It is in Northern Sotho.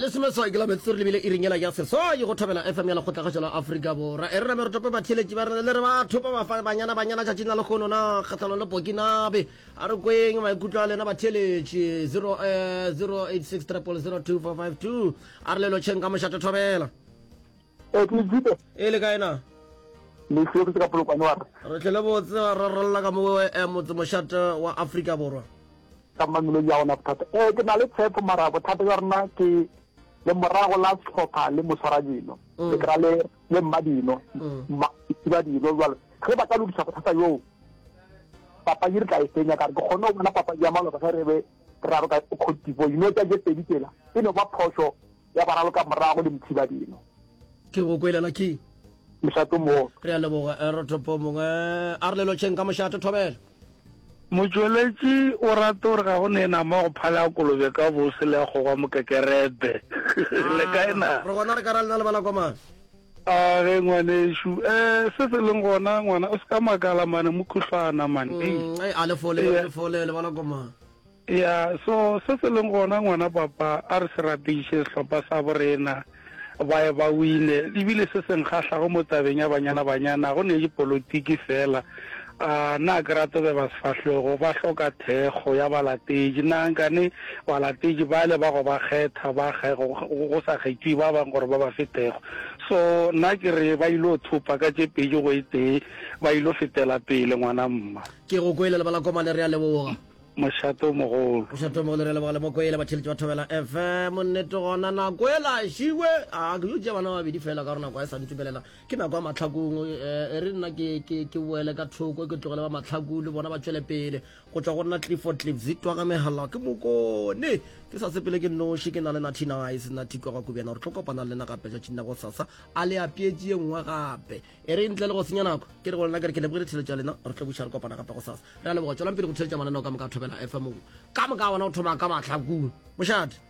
Lesomeswai ke la metsotso re lebile iring yela ya seswai go thobela FM ya Lekgotlakgašo la Afrika Borwa. E re name re tope batheeletši ba rena le re ba thopa bafa banyana banyana tšatšing la lekgono na kgahlanong le Burkinabe. A re kweng maikutlo a lena batheeletši 0 eh, 086 0002452 a re le lotšheng ka mošate thobela. E ke le E le kae na? Le hlwekise ka polokwane wa re. Re tlele botse ra ralla ka mo eh, motse mošate wa Afrika Borwa. Ka Mamelodi ya gona bothata. Ee, ke na le tshepo mara bothata bja rena ke lemorago la sehlopha le moswaradino. Mm. Le kra le le mmadino. Mm. Mma dino jwale. Ge ba ka lokiša bothata bjoo papadi re tla e fenya ka re ke kgone go bona papadi ya maloba ge re be re raloka Cote d'Ivoire. Dino tša tše pedi tsela e no ba phošo ya baraloka morago le mothibadino. Ke go kwele Lucky. Mošato mo. Re a leboga eh, Rothopo mongwe a re le lotšheng ka mošato thobela. Motšweletši o rata gore ga go ne nama go phala kolobe ka bose le ya kgogwa mokekerebe. Le kae na? Re gona re ka ra lena le bala komana. A ge ngwanešu. Eh se se leng gona ngwana o se ka makala mane mokhuhlwana mane. Mm, a le fole, le fole le bala komana. Ya, so se se leng gona ngwana papa, a re se rateiše sehlopha sa borena, ba ye ba wine. Ebile se se nkgahlago mo tabeng ya Banyana Banyana, go ne dipolotiki fela. A na ke rate beba sefahlego, ba hloka thekgo ya balatedi. Na nkane balatedi bale ba go ba kgetha, ba go sa kgethiwe ba bang gore ba ba fe thekgo. So nna ke re ba ilo thopa ka tše pedi go e tee, ba ilo fetela pele ngwana mma. Ke go kwele lebalakomane, re a leboga. Mošate o mogolo. Mošate o mogolo re leboga le mokwele batheletši ba Thobela FM. Nnete gona nako ela šiwe a ke yo tšea bana ba babedi fela ka gore nako a e sa ntumelela ke nako ya mahlakong e re nna ke ke ke boele ka thoko ke tlogele ba mahlaku le bona ba tšwele pele go tšwa go nna Clifford Cliffs twa ka megala ke mokone ke sa sepele ke noši ke na le Natty Nice Natty kwa ga Kubjana re tlo kopana le lena gape tšatšing la gosasa a le apeetše ye nngwe gape E re ntle le go senya nako, ke re go lena ke re ke lebogile theletšo ya lena, re tlo buša re kopana gape gosasa. Re a leboga, tšwelang pele go theletša mananeo ka moka a Thobela FM ka moka a ona go thoma ka mahlakong. Mošate.